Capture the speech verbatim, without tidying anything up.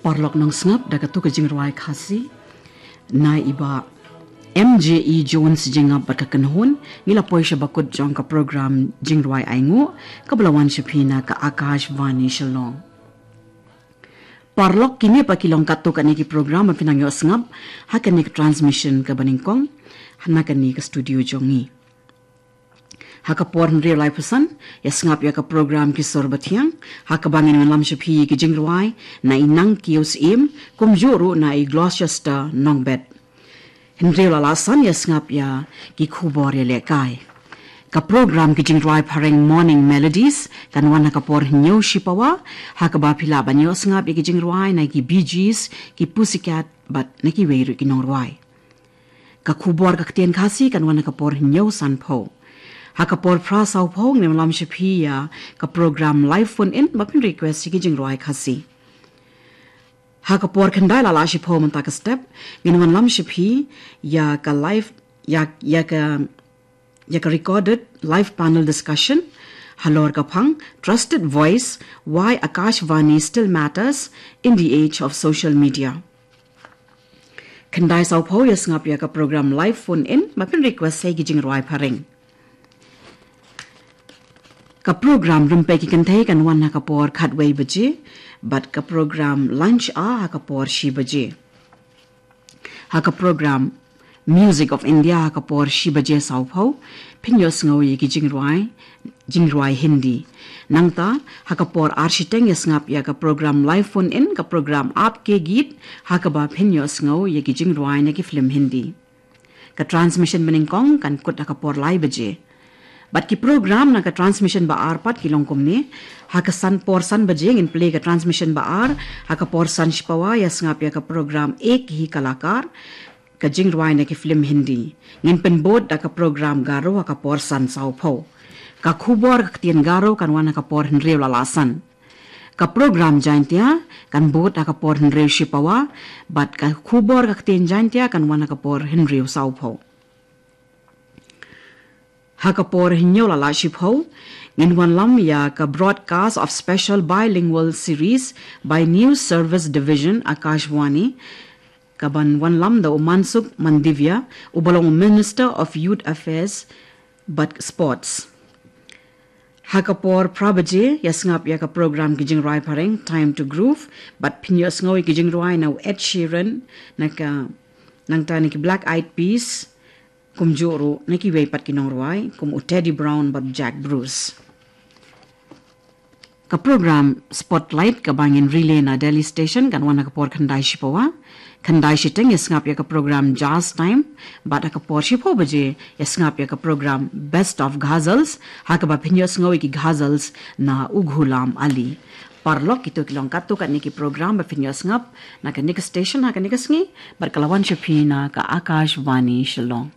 Paralok nongsngap, da katu ka jingrwai Khasi na i Bah M J E Jones Jingap bad ka kynhun, ngi la poi sha bakut jong ka program Jingrwai Ainguh, kaba la wan sha phi na ka Akashvani Shillong. Paralok, kine pat ki long katto katne ki program ba phin nang ïohsngap ha kane ka transmission kaba nyngkong na kane ka studio jong ngi. Ha ka por hynriew laiphew san, ïa sngap ïa ka program Ki Sur Bathiang, ha kaba ngin wanlam sha phi ïa ki jingrwai na i Nang Kiew Syiem, kumjuh ruh na i Gloucester Nongbet. Hynriew la lah san, ïa sngap ïa ki khubor ïalehkai. Ka program Ki Jingrwai Phareng Morning Melodies kan wan ha ka por hynñiew shipawa, ha kaba phi lah ban ïohsngap ïa ki jingrwai na ki Bee Gees, ki Pussycat bad na kiwei ruh ki nongrwai. Ka khubor ka ktien Khasi kan wan ha ka por hynñiew sanphew. Ha ka por phra sawphew ngin wanlam sha phi ïa ka program Live Phone In ba phin request ïa ki jingrwai Khasi. Ha ka por khyndai la lah shiphew mynta ka step, ngin wanlam sha phi ïa ka live, ïa, ïa ka, ïa ka recorded live panel discussion halor ka phang Trusted Voice, Why Akashvani Still Matters in the Age of Social Media. Khyndai sawphew, ïa sngap ïa ka program Live Phone In ba phin request ïa ki jingrwai phareng. Ka program Rympei ki Kynthei kan wan ha ka por khatwei baje, bad ka program Lunch Hour ha ka por shi baje. Ha ka program Music of India ha ka por shi baje sawphew, phin ïohsngew ïa ki jingrwai, jingrwai Hindi. Nangta, ha ka por ar shiteng ïa sngap ïa ka program Live Phone In, ka program Aapke Geet, ha kaba phin ïohsngew ïa ki jingrwai na ki film Hindi. Ka transmission banyngkong kan kut ha ka por lai baje. Bad ki program na ka transmission ba ar pat ki long kumne: ha ka san, por san baje ngin play ka transmission ba ar, ha ka por san shipawa ïa sngap ïa ka program Ek Hi Kalakar, ka jingrwai na ki film Hindi. Ngin pynbud da ka program Garo ha ka por san sawphew. Ka khubor ka ktien Garo kan wan ha ka por hynriew la lah san. Ka program Jaintia kan bud ha ka por hynriew shipawa, bad ka khubor ka ktien Jaintia kan wan ha ka por hynriew sawphew. Ha ka por hynñiew la lah shiphew, ngin wanlam ïa ka broadcast of special bilingual series by News Service Division, Akashvani, kaban wanlam da u Mansukh Mandavia, uba long u Minister of Youth Affairs bad Sports. Ha ka por phra baje, ïa sngap ïa ka program Ki Jingrwai Phareng, Time to Groove, bad phin ïohsngew ïa ki jingrwai na u Ed Sheeran, na ka, nangta na ki Black Eyed Peas, kumjuh ruh na kiwei pat ki nongrwai, kum u Teddy Brown bad Jack Bruce. Ka program Spotlight kaba ngin relay na Delhi Station kan wan ha ka por khyndai shipawa. Khyndai shiteng ïa sngap ïa ka program Jazz Time, bad ha ka por shiphew baje ïa sngap ïa ka program Best of Ghazals, ha kaba phin ïohsngew ïa ki ghazals na u Ghulam Ali. Paralok, kito ki long katto katne ki program ba phin ïohsngap na kane ka station ha kane ka sngi, bad ka la wan sha phi na ka Akashvani Shillong.